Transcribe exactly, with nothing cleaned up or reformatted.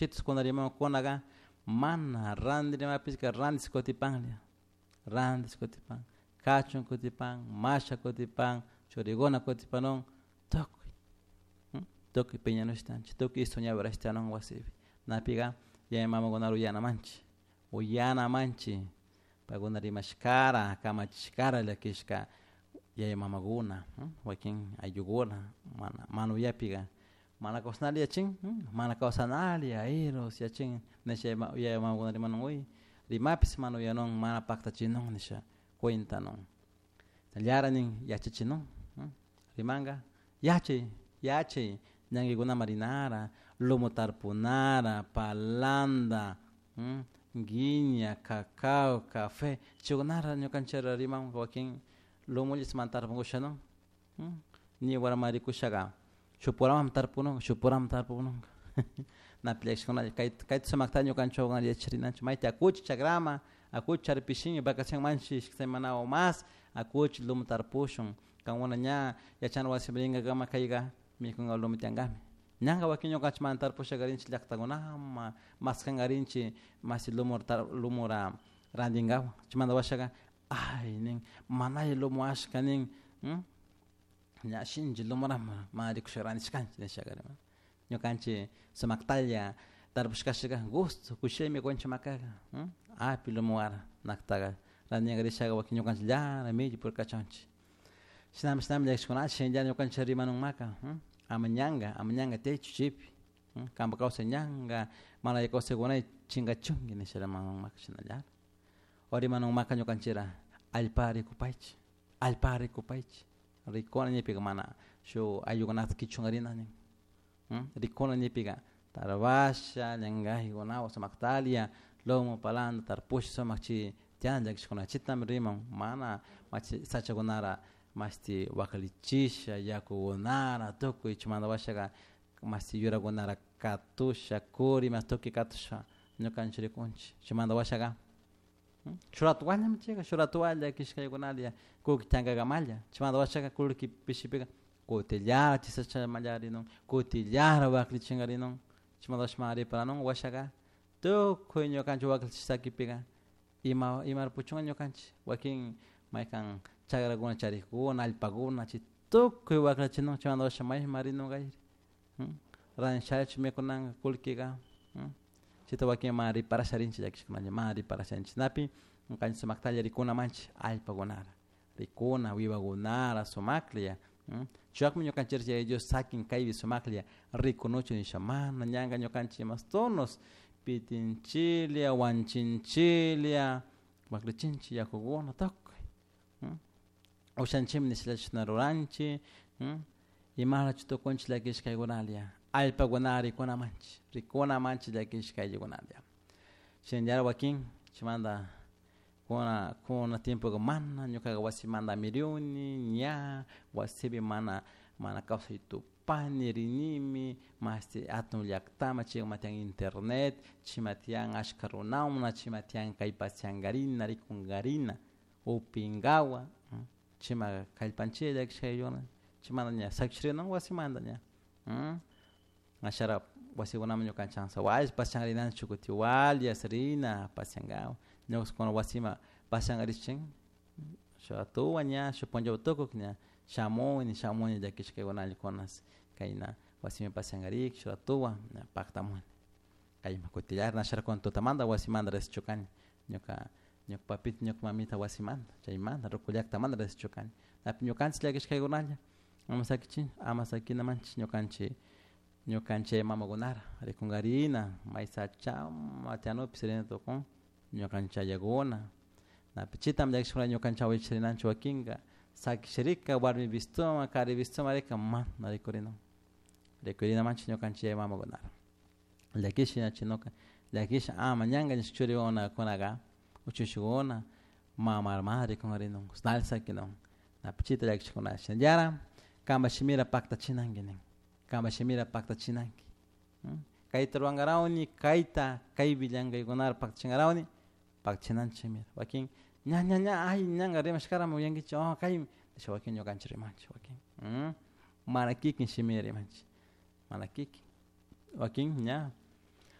Chitus kuna rimankunaga mana ranti rimapishka rantis kutipanlla rantis kutipan kachun kutipan masha kutipan churikuna kutipanun tukuy tukuy piñanushtanchik tukuy soñadorashtanun wasipi napika yaya mamakuna uyanamanchik uyanamanchik paykuna rimashkara kamachishkara llakishka yaya mamakuna wakin ayllukuna mana mana uyapika mana kawsanali yachin mana kawsanali ayrus yachin nisha yaya mamakuna rimanun uy rimapish mana uyanun mana paktachinun nisha cuentanun llara nin yachachinun rimanka yachay yachay ñankikunaman rinara lumu tarpunara palanta guiña, cacao, café chaykunara ñukanchik riman wakin lumullish mana tarpukushanun ñiwarama rikushaka shuk puraman tarpunun shuk puraman tarpununka napi llakishkunalla kay kayta sumakta ñukanchik wawakuna yacharinanchik mayta akuchik chakraman akuchik charpishin vacacion manchik ishki semana o mas akuchik lumu tarpushun kankuna ña yachana wasiman rinkakama kayka mikunka lumu tiyankami ñanka wakin ñukanchik mana tarpushakarinchik llaktakunaman maskankarinchik mashi lumura lumura rantinkawan chaymanta washaka ay nin manalla lumu ashka nin ña shinchi lumurama mana rikushka rantishkanchik nishaka ñukanchik sumaktalla tarpushkashaka gusto kushilla mikunchik makaka api lumuwara naktaka rantinkarishaka wakin ñukanchikllala milli purkachunchik shinami shinami llakishkunata shinallara ñukanchik rimanunmaka ama ñanka ama ñanka tiyaychu chaypi kanpak kawsay ñanka mana alli kawsaykunay chinkachunki nisha rimanunmaka shinallara o rimanunmaka ñukanchikra allpa rikupaychik allpa rikupaychik rikuna ñipika mana shuk ayllukunata kichunkarina nin rikuna ñipika tarbasha llankaykunawan sumaktalia lumu palanta tarpush sumak chay tiyan llakishkuna chitami riman mana machi sachakunara mashti waklichisha yakukunara tukuy chaymanta washaka mashti yurakunara katusha kuri ima tukuy katusha ñukanchik rikunchik chaymanta washaka shuk rato wallami chayka shuk rato walla kishkaykunalla kullki tiyankakamalla chaymanta washaka kullki pishipika kutillara chay sachaman kutillara waklichinkarinun chaymanta washa mana riparanun washaka tukuy ñukanchik waklichish sakipika ima imara puchunka ñukanchik wakin maykan chakrakuna charikuna allpakuna chay tukuy waklichinun chaymanta washa mayman rinun rantishachu mikunanka kullkika chayta wakin mana riparasha rinchik llakishkunalla mana riparasha rinchik chashnapi ñukanchik sumaktalla rikuna manchik allpakunara rikuna wiwakunara sumaklla chaypakmi ñukanchik Yaya Dios sakin kaypi sumaklla rikunuchun nisha mana ñanka ñukanchik mastonos pitinchilla wanchinchilla waklichinchik yakukuna tukuy ushanchikmi nishalla chashna ruranchik imalachu tukunchik llakishkaykunalla allpakunara rikuna manchik rikuna manchik llakishka ayllukunalla shinallara wakin chaymanta kuna kuna tiempoka mana ñukaka wasimanta amiriuni ña wasipi mana mana kawsay tupani rinimi mashti atun llaktaman chayman tiyan internet chayman tiyan ashka runawna chayman tiyan kay pasiankarina rikunkarina upinkawan chayman kallpanchik llakishka ayllukuna chaymanta ña sakishrinun wasimanta ña ashara wasikunaman ñukanchik ansa pasianrinanchik kutin Guayas rina pasiankawan ñuka wasiman pasiankarishchin shuk atuwan ña shuk punllawan tukuk ña shamuni shamuni llakishkaykunalla kunas kayna wasiman pasiankarik shuk ratuwan ña paktamuni kayman kutillara nasharakuni tutamanta wasimanta rishchukani ñuka ñuka papito ñuka mamita wasimanta chaymanta ruku llaktamanta rishchukani napi ñukanchik llakishkaykunalla ama sakichin ama sakinamanchik ñukanchik ñukanchik mamakunara rikunkarina may sachama tiyanupish rina tukun ñukanchik ayakuna napi chitami llakishkuna ñukanchik awichik wakinka sakishirika warmi vistuman kari vistuman rika mana rikurinun rikurinamanchik ñukanchik yaya mamakunara llakish ñachinuka llakish ama ñanka nishka churiwawakunaka uchushukuna mama mana rikunkarinun nali sakinun napi chita llakishkuna shinallara kanpak shimira paktachinanki nin kanpak shimira paktachinanki kayta ruwankarawni kayta kaypi llankaykunara paktachinkarawni paktachinanchikmi wakin ña ña ña ay ñanka rimashkarami uyankichik oh kaymi nisha wakin ñukanchik rimanchik wakin mana kikin shimira rimanchik mana kikin wakin ña